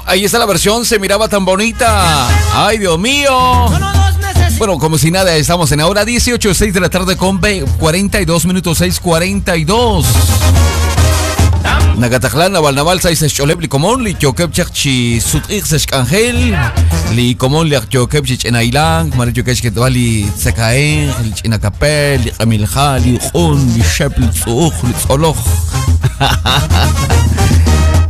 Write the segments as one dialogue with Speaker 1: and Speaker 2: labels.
Speaker 1: ahí está la versión, se miraba tan bonita. ¡Ay, Dios mío! Bueno, como si nada, estamos en ahora 18:06 de la tarde con 42 minutos, 6:42. Nagataklan, Naval Sais Choleb, Licomón, Lichokeb Chi Sutix Sechangel, Licomón, Lichokeb Chichenailan, Marichokesh Ketwali, Tsekaen, Chinacapel, Licamilja, Liun, Lishep, Litzuj, Litzoloj.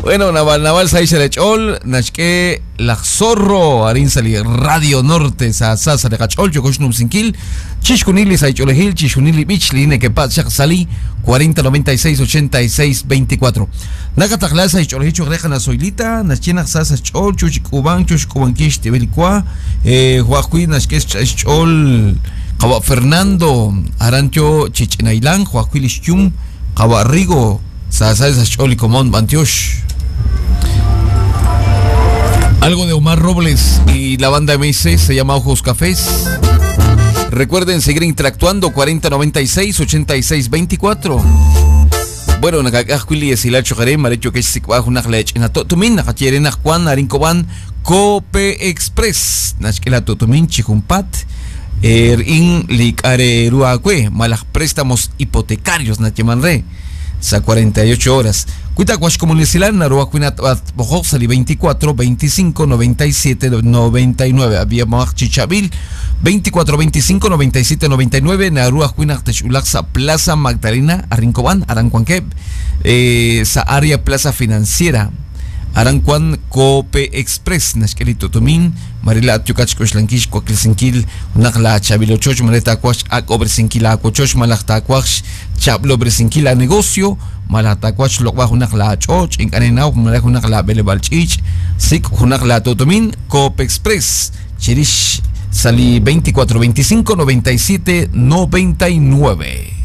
Speaker 1: Bueno, Naval Naval Sais Chol, Nashke, Laj Zorro, Arin Sali, Radio Norte, Sa Sa Sa Chol, Yokosh Sinkil, Chishkunili, Saicholejil, Chishkunili Bich, Line Kepat, Shak Sali, 40 96 86 24. Nakatakla Saicholejil, Chogreja Nasoilita, Nachena Sa Chol, Chuchikuban, Chuchkubankish, Tibelicua, Juajuy, Nashke Chol, Kawa Fernando, Arancho, Chichenailan, Juajuy Lishchum, Kawa Rigo, Sa Sa Chol y Comón, Bantiosh. Algo de Omar Robles y la banda MC se llama Ojos Cafés. Recuerden seguir interactuando 4096 8624. Bueno, nakakajkuili esilacho jare marecho que sikwaj unaj lech inatotumin nakachierena Juan Arincoban Cope Express nachkela totumin chijumpat in likare ruakue malaj préstamos hipotecarios nachemanre sa 48 horas. Cuita Comunicilan, Narua Cuinat Sali 24 25 97 99. Había Chichavil 24 25 97 99. Narua Cuinat Techulaxa Plaza Magdalena, Arrincoban, Arancuanqueb, sa área Plaza Financiera. Arancuan Cope Express, Nashkelito Tomin, Marila Atiokach Koslankish, Cuaquilsinkil, Unakla Chavilochoch, Mareta Cuach, Akobresinquil, Acuachoch, Malachtacuach, Chablobresinquil, a negocio, Malatacuach, Lokwaj, Unakla Choch, Incanenau, Malaj Unakla Belebalchich, Sik, Unakla Totomin, Cope Express, Chirish, Sali 24 25 97 99.